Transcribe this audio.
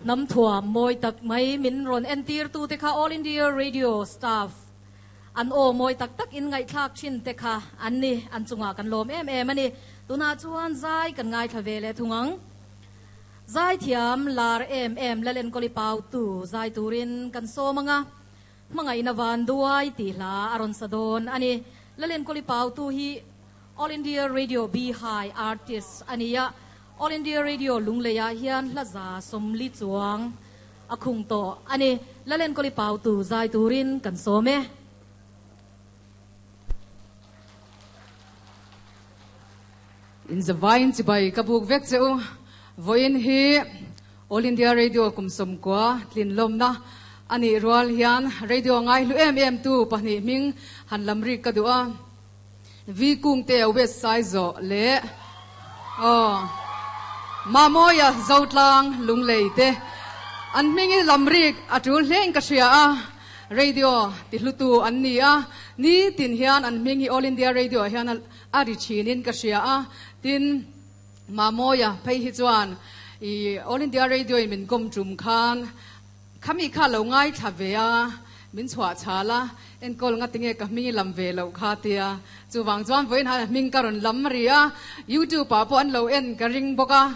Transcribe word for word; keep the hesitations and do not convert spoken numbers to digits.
Hnam thuam mawi tak mai min rawn entir tu te kha All India Radio staff an aw mawi tak tak in ngaihthlak thin te kha an ni, an chungah kan lawm em em a ni. Tunah chuan zai kan ngaithla ve leh thung ang. Zaithiam lar em em Lalenkawli Pautu zai turin kan sawm anga hmangaihna van duai tih hla a rawn sa dawn a ni. Lalenkawli Pautu hi All India Radio B-High artist a ni a, All India Radio Lungleiah hian hla za sawmli chuang a khung tawh a ni. Lalenkawli Pautu zai turin kan sawm e. In zavaiin chibai ka buk vek che u. Vawiin hi All India Radio kum sawmkua tlin lawmna a nih rual hian radio ngai hlu em em tu pahnih hming han lam rik ka duh a. Vi Kungte West Saizawh leh aw Mamawia Zotlang Lunglei te an hming hi lam rik a tul hlein ka hria a. Radio ti hlutu an ni a, nitin hian an hming hi All India Radio ah hian a ri thinin ka hria a. Tin, Mamawia phei hi chuan i All India Radio in min kawm tum khan khami kha lo ngaithla ve a, min chhuah chhal a, enkawl nga tinge ka hming i lam ve loh kha tia. Chuvang chuan vawiin han hming ka rawn lam ri a, YouTube ah pawh an lo en ka ring bawk a.